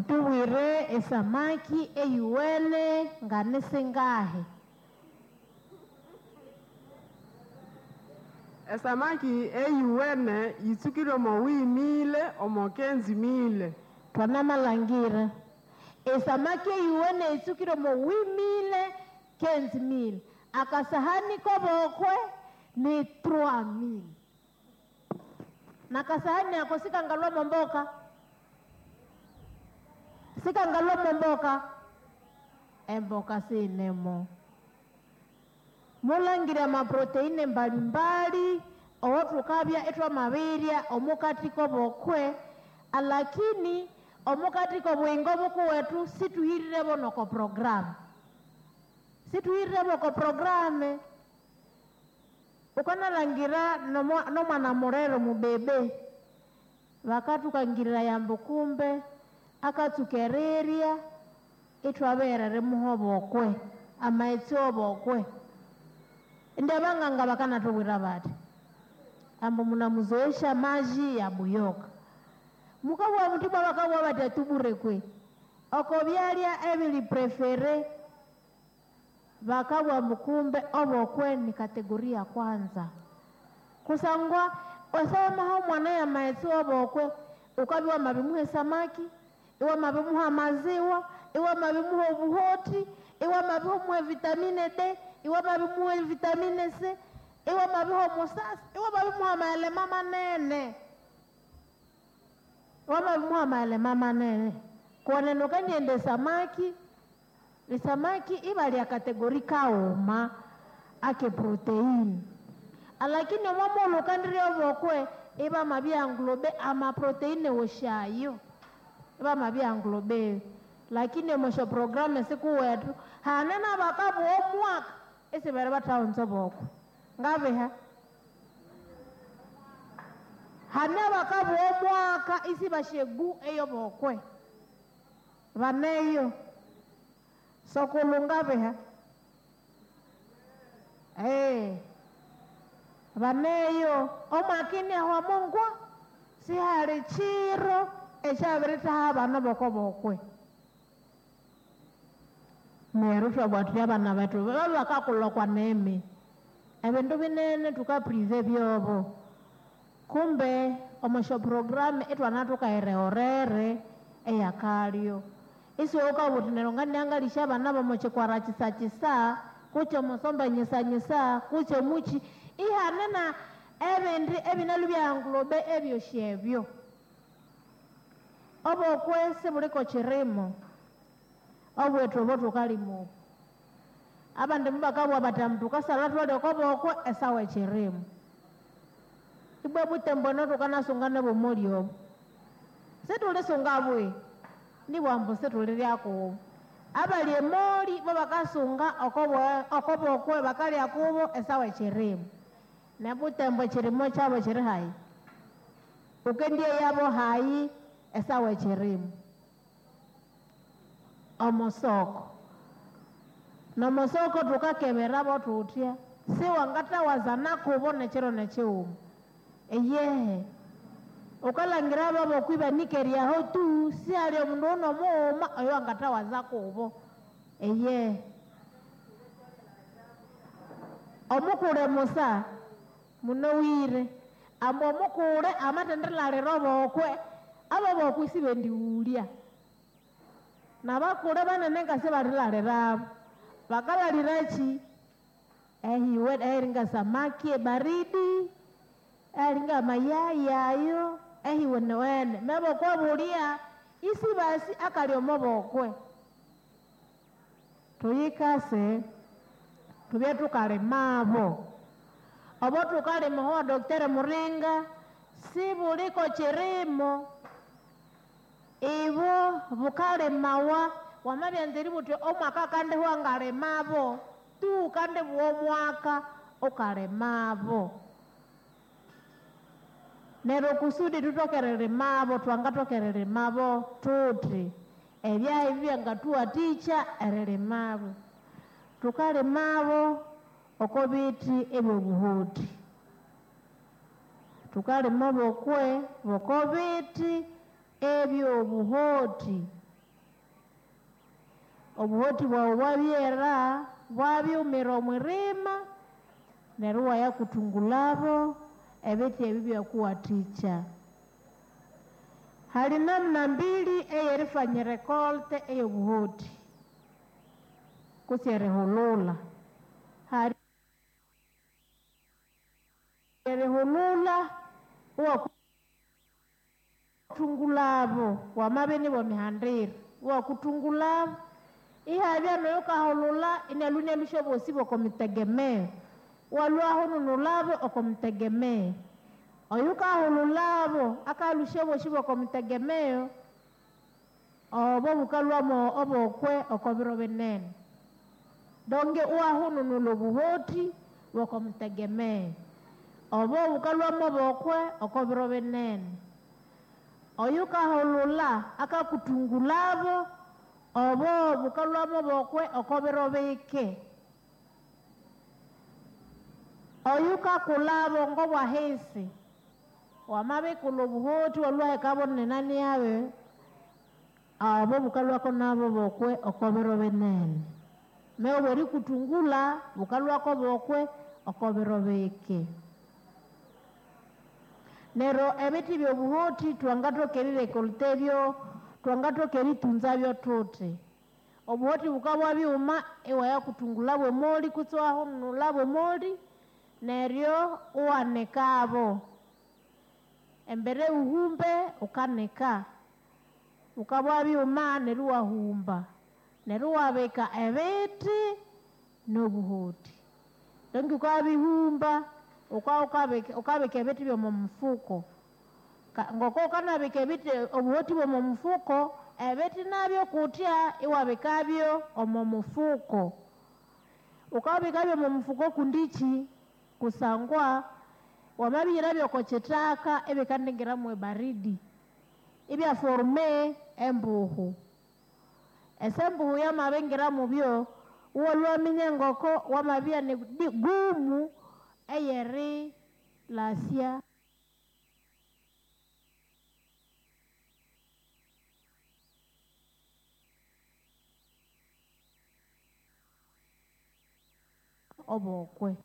Mutubwire esamaki eyuwene nga nisingahi? Esamaki eyuwene yitsukire omo 8000 omo 15000. Twanamalhangira esamaki eyuwene yitsukire omo 8000 15000. Akasahani kobokwe ni 3000. Nakasahani ako sikangalwa momboka. Sikangalwa momboka. Emboka sinemo. Mulangira amaproteine mbalimbali owotukabya etwamabirya omukati kobokwe, alakini omukati kobuyingo bukuwetu situhirirebo noko programu. Situhirirebo ko programu. Ukanalangira nomwana murero mubebe bakatukangirira yambu kumbe akatsukerirya itwaberere muhobokwe amaghetse obokwe. Ndi abanganga bakanatubwira bati ambu munamuzoesha maji ya buyoka. Mukabugha muti bwa bakabugha bati atubure kwe oko byalya ebili prefere bakabugha mukumbe obokwe ni kategoria ya kwanza. Kusangwa osamaho mwana ya maghetse obokwe ukabya mabimuhe samaki, iwa mabimuha maziwa, iwa mabimuha obuhoti, iwa mabimuha vitamine D, iwa mabimuha vitamine C, iwa mabiha musasi, iwa mabimuha maelema manene. Iwa mabimuha maelema manene. Kuoneno kaniende samaki, ni samaki ibali ya kategori kauma ake protein. Alakini omwamulu kandiri obokwe iba mabya nglobe ama proteine woshayo. Iba mabya nglobe. Lakini omosho programu siku wetu hanena bakabu omwaka isibere bataonzo bokwe. Ngabeha hane bakabu omwaka isibashegu eyo bokwe. Baneyo sokulu ngabeha baneyo omwakini aho mungwa sihali chiro ekyabiritaha abana boko bokwe. Neryo twabwatira abana bethu baba bakakulwa nemi ebindu binene tukaprive byobo. Kumbe omosho programu itwana tukairehorere eyakalyo. Isiwe ukabuthi neryo nganiangalisha abana bomochikwara chisachisa kuche omusomba nyisanyisa kuche muchi ihanena ebindi ebinalu byanglobe ebyosyebyo. Obokwe sibuliko chirimo obwetu obo tukalimo. Abandi mubakabwa bati tukasala twalya okobokwe esawa echirimo. Ibwe butembo no tukanasunga nebomoli obo. Situlisunga bwe nibwambu situliryako. Abali emoli bo bakasunga okobokwe bakalya kubo esawa echirimo. Nebutembo chirimo kyabo kiri hayi. Ukendie yabo hayi esawa echirimo. Omosoko. Nomosoko tukakeberabo tutya. Siwangatawaza kubo nekiro nekiwuma. Eyehe. Ukalangira babo kwiba nikeryaho tu siali omundu ono muuma oyo angatawaza kubo. Eyehe. Omukule Musa munowire ambu omukule amatendelalira obokwe abo bokwe sibendiwulya. Nabakule banene nga sibalilalirabo. Bakalaliraki? Ehiwe eringa samaki ebaridi, eringa mayai ayo, ehiwenewene. Mebokwe bulya isi basi akali omobokwe. Tuyikase tubye tukalimabo. Obo tukalima ho Dr. Muringa sibuliko chirimo. Ibo bukalimawa wamabyanziri buti omwaka kandi wangalimabo tu kandi bwomwaka ukalimabo. Neryo kusudi tutokererimabo twangatokererimabo tuti ebyahi byangatuwatikya eririmabo. Tukalimabo oko biti ebyobuhuti. Tukalima bokwe boko biti ebyobuhoti. Obuhoti bwawu bwabyera, bwabyumira omwirima, neryo iwayakuthungulabo ebithi ebi byakuwathikya. Hali namna mbili eyerifanya récolte eyobuhoti kutse erihulula. Hali erihulula iwakuthungulabo wamabya inibwemihandira, iwakuthungulabo ihabya noyukahulula inalwa inalũsya abosi b'oko mitegemeo, iwalwa ahununulabo oko mitegemeo. Oyukahululabo akalũsya abosi b'oko mitegemeo, obo bukalhwamo obokwe oko biro binene. Donge iwahununula obuhoti bw'oko mitegemeo, obo bukalhwamo obokwe oko biro binene. Oyukahulula akakuthungulabo, obo bukalhwamo obokwe oko biro bike. Oyukakulabo ng'obwahisi, wamabikulha obuhoti iwalhwahekabo nenani yabe, obo bukalhwako nabo bokwe oko biro binene. Mewe obwerikuthungula bukalhwako bokwe oko biro bike. Neryo ebithi by'obuhoti twangathoka erirekolta ebyo, twangathoka eritunzabyo thuthi. Obuhoti bukabya byuma iwayakuthungula bw'emoli kutse iwahununula bw'emoli, neryo iwanikabo. Embere wuhumbe wukanika, bukabya byuma neryo iwahumba, neryo iwabika ebithi n'obuhoti. Donge wukabihumba, wukabika ebithi by'omo mufuko. Ngoko wukanabika ebithi obuhoti bw'omo mufuko, ebithi nabyo kutya iwabikabyo omo mufuko. Wukabikabyo omo mufuko kundiki? Kusangwa wamabihirabyo oko kithaka ibikandingira mwebaridi, ibyaforme embuhu. Ese mbuhu yamabingira mubyo, iwalhwaminya ngoko wamabya ni gumu eyerilasya obokwe.